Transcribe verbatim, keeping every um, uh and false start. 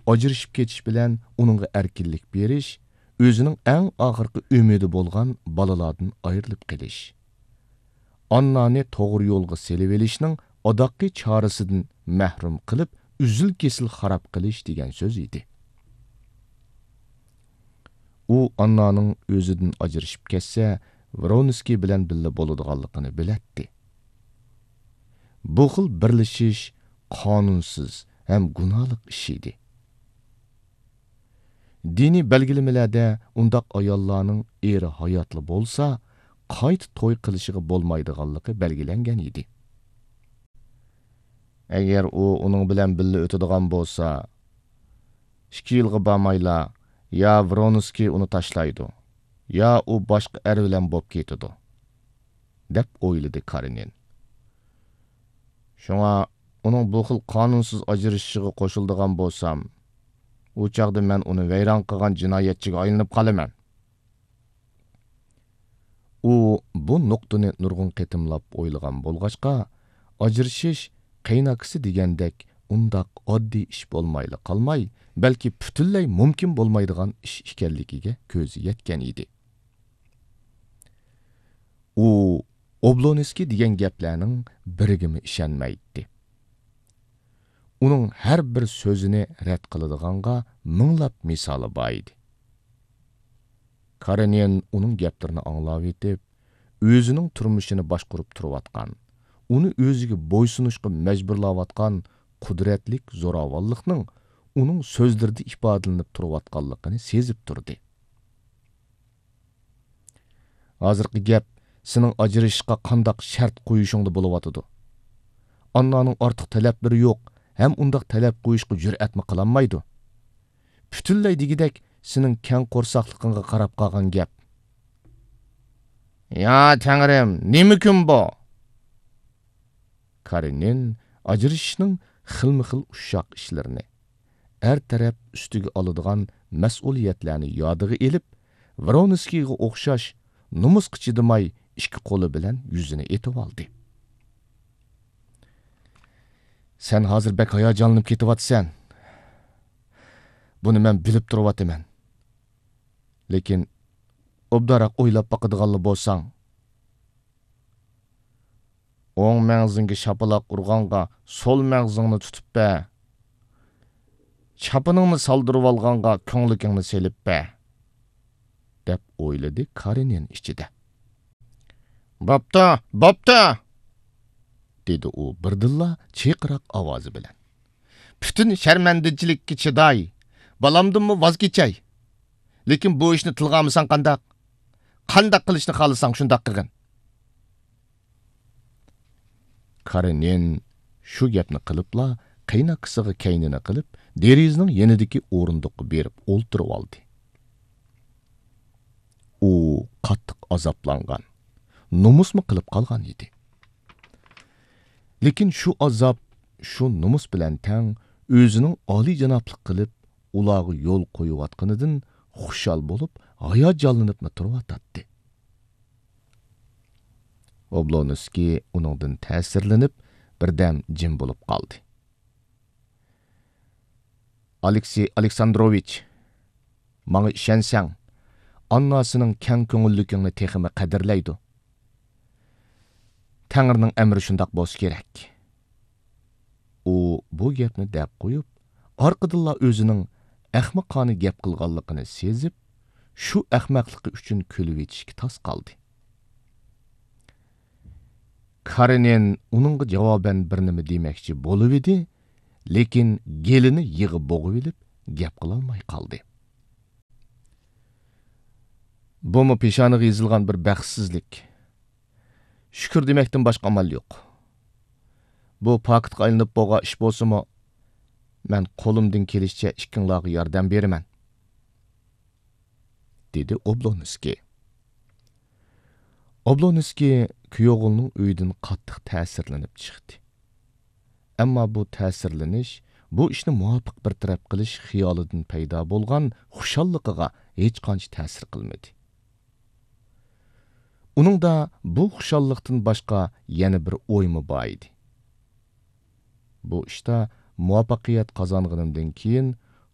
ئاجرىشىپ كېتىش بىلەن ئۇنىڭغا ئەركىنلىك بېرىش، ئۆزىنىڭ ئەڭ ئاخىرقى ئۈمىدى بولغان بالىلاردىن ئايرىلىپ قېلىش. ئاننانى توغرا يولغا سېلىۋېلىشنىڭ ئاداققى چارىسىدىن مەھرۇم قىلىپ، ئۈزۈل-كېسىل خاراب قىلىش دېگەن سۆز ئىدى. ئۇ ئاننانىڭ ئۆزىدىن ئاجرىشىپ كەتسە، ۋرونسكىي بىلەن بىللە بولىدىغانلىقىنى بىلەتتى. بۇ خىل بىرلىشىش قانۇنسىز ھەم گۇناھلىق ئىش ئىدى. دىنىي بەلگىلىمىلەردە ئۇنداق ئاياللارنىڭ ئېرى ھاياتلا بولسا، قايتا توي قىلىشىغا بولمايدىغانلىقى بەلگىلەنگەن ئىدى. ئەگەر ئۇ ئۇنىڭ بىلەن بىللە ئۆتىدىغان بولسا، ئىككى يىلغا بارمايلا يا ۋرونسكىي ئۇنى تاشلايدۇ، يا ئۇ باشقا ئەر بىلەن بولۇپ كېتىدۇ، دەپ ئويلىدى كارېنىن. شۇڭا ئۇنىڭ بۇ خىل قانۇنسىز ئاجرىشىشىغا قوشۇلىدىغان بولسام، ئۇ چاغدا مەن ئۇنى ۋەيران قىلغان جىنايەتچىگە ئايلىنىپ قالىمەن. ئۇ بۇ نۇقتىنى نۇرغۇن قېتىملاپ ئويلىغان بولغاچقا، ئاجرىشىش قېيىنئاكىسى دېگەندەك ئۇنداق ئاددىي ئىش بولمايلا قالماي، بەلكى پۈتۈنلەي مۇمكىن بولمايدىغان ئىش ئىكەنلىكىگە كۆزى يەتكەن ئىدى. ئۇ ئوبلونسكىي دېگەن گەپلەرنىڭ بىرىگىمۇ ئىشەنمەيتتى. ئۇنىڭ ھەر بىر سۆزىنى رەت قىلىدىغانغا مىڭلاپ مىسالى بار ئىدى. كارېنىن ئۇنىڭ گەپلىرىنى ئاڭلاۋېتىپ، ئۆزىنىڭ تۇرمۇشىنى باشقۇرۇپ تۇرۇۋاتقان، ئۇنى ئۆزىگە بويسۇنۇشقا مەجبۇرلاۋاتقان قۇدرەتلىك زوراۋانلىقنىڭ ئۇنىڭ سۆزلىرىدە ئىپادىلىنىپ تۇرۇۋاتقانلىقىنى سېزىپ تۇردى. ھازىرقى گەپ سېنىڭ ئاجرىشىشقا قانداق شەرت قويۇشۇڭدا بولۇۋاتىدۇ. ئاننانىڭ ئارتۇق تەلەپلىرى يوق ھەم ئۇنداق تەلەپ قويۇشقا جۈرئەتمۇ قىلالمايدۇ. پۈتۈنلەي دېگۈدەك سېنىڭ كەڭ قورساقلىقىڭغا قاراپ قالغان گەپ. يا تەڭرىم، نېمە كۈن بۇ؟ كارېنىن ئاجرىشىشنىڭ خىلمۇ خىل ئۇششاق ئىشلىرىنى، ئەر تەرەپ ئۈستىگە ئالىدىغان مەسئۇلىيەتلەرنى يادىغا ئېلىپ، ۋرونسكىيغا ئوخشاش نومۇسقا چىدىماي ئىككى قولى بىلەن يۈزىنى ئېتىۋالدى. سەن ھازىر بەك ھاياجانلىنىپ كېتىۋاتىسەن. بۇنى مەن بىلىپ تۇرۇۋاتىمەن. لېكىن ئوبدانراق ئويلاپ باقىدىغانلا بولساڭ. ئوڭ مەڭزىڭگە شاپىلاق ئۇرغانغا سول مەڭزىڭنى تۇتۇپ بەر. چاپىنىڭنى سالدۇرۇۋالغانغا كۆڭلىكىڭنى سېلىپ بەر، دەپ ئويلىدى كارېنىن ئىچىدە. بوپتۇ، بوپتۇ! دېدى ئۇ بىردىنلا چىرقىراق ئاۋازى بىلەن. پۈتۈن شەرمەندىچىلىككە چىداي، بالامدىنمۇ ۋاز كېچەي. لېكىن بۇ ئىشنى تىلغا ئالمىساڭ قانداق؟ قانداق قىلىشنى خالىساڭ شۇنداق قىلغىن. كارېنىن شۇ گەپنى قىلىپلا، قېيىنئاكىسىغا كەينىنى قىلىپ، دېرىزىنىڭ يېنىدىكى ئورۇندۇققا بېرىپ ئولتۇرۇۋالدى. ئۇ قاتتىق ئازابلانغان، نومۇسمۇ قىلىپ قالغان ئىدى. لېكىن شۇ ئازاب، شۇ نومۇس بىلەن تەڭ ئۆزىنىڭ ئالىيجانابلىق قىلىپ، ئۇلارغا يول قويۇۋاتقىنىدىن خۇشال بولۇپ، ھاياجانلىنىپمۇ تۇرۇۋاتاتتى. ئوبلونسكىي ئۇنىڭدىن تەسىرلىنىپ، بىردەم جىم بولۇپ قالدى. ئالېكسېي ئالېكساندروۋىچ، ماڭا ئىشەنسەڭ، ئاننا سېنىڭ كەڭ كۆڭۈللۈكۈڭنى تېخىمۇ قەدىرلەيدۇ. تەڭرىنىڭ ئەمرى شۇنداق بولسا كېرەك. ئۇ بۇ گەپنى دەپ قويۇپ، ئارقىدىنلا ئۆزىنىڭ ئەخمىقانە گەپ قىلغانلىقىنى سېزىپ، شۇ ئەخمەقلىقى ئۈچۈن كۈلۈۋېتىشكە تاس قالدى. كارېنىن ئۇنىڭغا جاۋابەن بىر نېمە دېمەكچى بولۇۋىدى، لېكىن گېلىنى يىغا بوغۇۋېلىپ، گەپ قىلالماي قالدى. بۇمۇ پېشانىغا يېزىلغان بىر بەختسىزلىك. شۈكۈر دېمەكتىن باشقا ئامال يوق. بۇ پاكىتقا ئايلىنىپ بولغان ئىش بولسىمۇ، مەن قولۇمدىن كېلىشىچە ئىككىڭلارغا ياردەم بېرىمەن، دېدى ئوبلونسكىي. ئوبلونسكىي كۈيئوغلىنىڭ ئۆيىدىن قاتتىق تەسىرلىنىپ چىقتى. ئەمما بۇ تەسىرلىنىش، بۇ ئىشنى مۇۋاپىق بىر تەرەپ قىلىش خىيالىدىن پەيدا بولغان خۇشاللىقىغا ھېچقانچە تەسىر قىلمىدى. ئۇنىڭدا بۇ خۇشاللىقتىن باشقا يەنە بىر ئويمۇ بار ئىدى. بۇ ئىشتا مۇۋەپپەقىيەت قازانغىنىمدىن كېيىن،